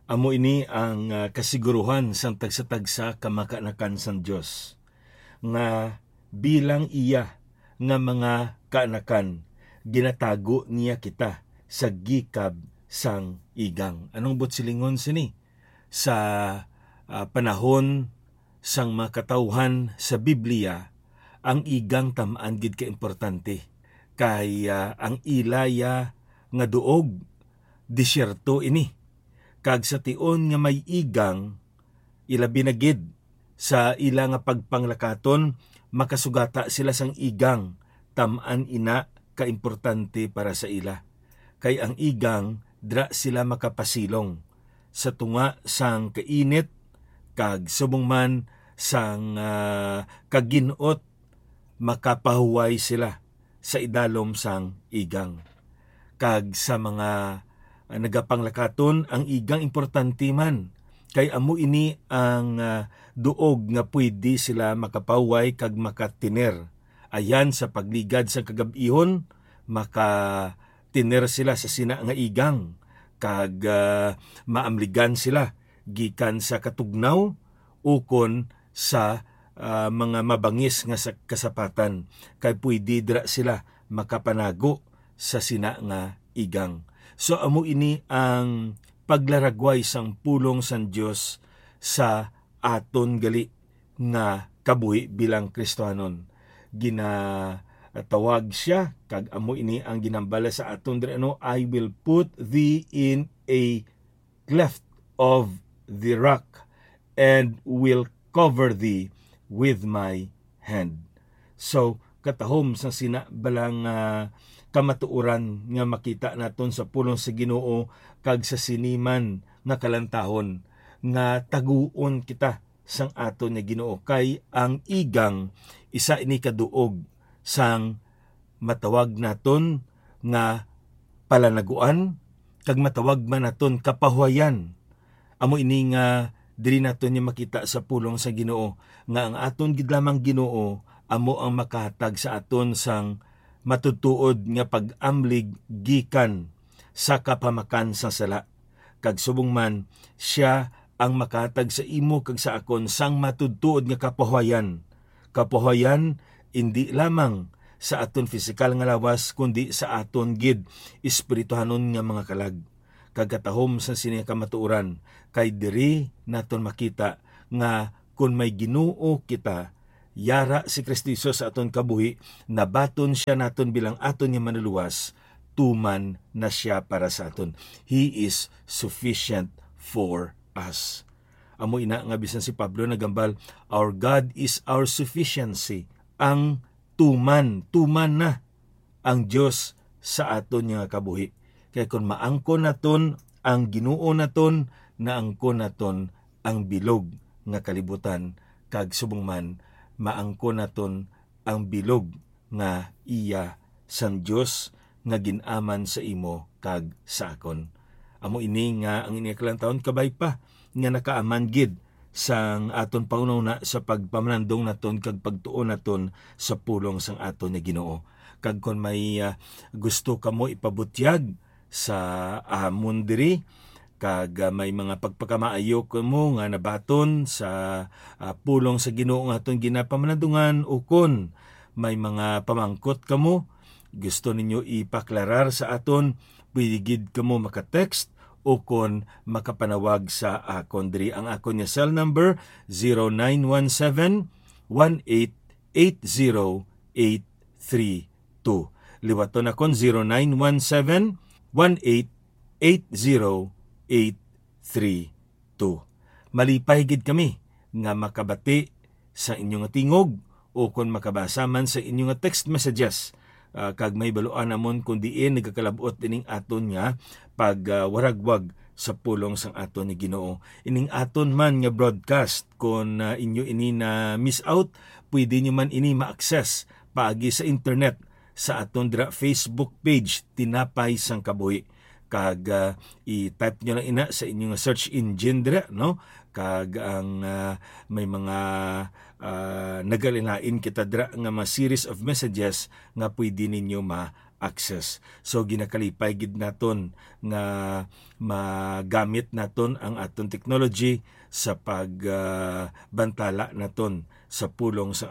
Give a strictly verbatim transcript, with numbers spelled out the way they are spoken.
Amo ini ang, ah, kasiguruhan sang tagsa-tagsa ka mga kaanakan sang Dios, nga bilang iya nga mga kaanakan, ginatago niya kita sa gikab sang igang. Anong buot silingon sini? Sa, ah, panahon sang mga katawhan sa Biblia, ang igang tam-an gid ka importante, kay, ah, ang ila ya nga duog, disyerto ini, kag sa tion nga may igang, ilabi na gid sa ila nga pagpanglakaton, makasugata sila sang igang. Tam-an ina ka importante para sa ila, kay ang igang dira sila makapasilong sa tunga sang kainit, kag subong man sang, ah, kagin-ot, makapahuway sila sa idalom sang igang. Kag sa mga, ah, nagapanglakaton, ang igang importante man, kay amo ini ang, ah, duog nga pwede sila makapahuway kag makatiner. Ayan, sa pagligad sang kagab-ihon, makatiner sila sa sina nga igang, kag, ah, maamligan sila gikan sa katugnaw ukon sa, ah, mga mabangis nga sa kasapatan, kay pwede dira sila makapanago sa sina nga igang. So, amo ini ang paglaragway sang pulong sang Dios sa aton gali nga kabuhi bilang Kristiyanon. Ginatawag sia, kag amo ini ang ginhambal sa aton diri, ano, "I will put thee in a cleft of the rock and will cover thee with my hand." So, katahom sa sina bala nga kamatuoran nga makita naton sa pulong sa Ginoo kag sa sini man nga kalantahon, nga taguon kita sang aton nga Ginoo, kay ang igang isa ini ka duog sang matawag naton nga palanaguan, kag matawag man naton kapahuwayan. Amo ini nga diri naton niya makita sa pulong sa Ginoo, nga ang aton gid lamang Ginoo amo ang makahatag sa aton sang matudtuod nga pag-amlig gikan sa kapamakan sa sala. Kag subong man, sia ang makahatag sa imo kag sa akon sang matudtuod nga kapahuwayan. Kapahuwayan indi lamang sa aton pisikal nga lawas, kundi sa aton gid espirituhanon nga mga kalag. Kag katahom sa sini nga kamatuoran, kay diri naton makita nga kon may Ginoo kita, yara si Cristo Jesus sa aton kabuhi, nabaton sia naton bilang aton nga Manlulowas, tuman na sia para sa aton. He is sufficient for us. Amo ina nga bisan si Pablo nagambal, "Our God is our sufficiency." Ang tuman, tuman na ang Dios sa aton nga kabuhi. Kay kon maangkon naton ang Ginoo naton, naangkon naton ang bilog nga kalibutan, kag subong man, maangkon naton ang bilog nga iya sang Dios nga gin-aman sa imo kag sa akon. Amo ini nga ang ining kalantahon kabay pa nga nakaaman gid sang aton panghunahuna sa pagpamalandong naton kag pagtuon naton sa pulong sang aton nga Ginoo. Kag kon may, ah, gusto kamo ipabutyag sa amon diri, kag, ah, may mga pagpakamaayo kamo nga nabaton sa, ah, pulong sa Ginoo nga aton ginapamalandungan, ukon may mga pamangkot kamo gusto ninyo ipaklarar sa aton, pwede gid kamo maka-text ukon makapanawag sa akon diri. Ang akon nga cell number, zero nine one seven, one eight eight zero eight three two. Liwaton akon, zero nine one seven, one eight eight zero eight three two. Malipay gid kami nga makabati sa inyo nga tingog o kon makabasa man sa inyo nga text messages, ah, kag mahibaluan namon kon diin nagakalab-ot ining aton nga pag, ah, waragwag sa pulong sang aton nga Ginoo. Ining aton man nga broadcast, kon, ah, inyo ini na miss out, pwede nyo man ini ma-access paagi sa internet sa aton dira Facebook page, Tinapay sang Kabuhi. Kag, ah, i-type nyo lang ina sa inyo nga search engine dira, no? Kag ang, ah, may mga, ah, nagalain-lain kita dira nga mga series of messages nga pwede ninyo ma-, access. So, ginakalipay gid naton nga magamit naton ang aton technology sa pag, ah, bantala naton sa pulong sa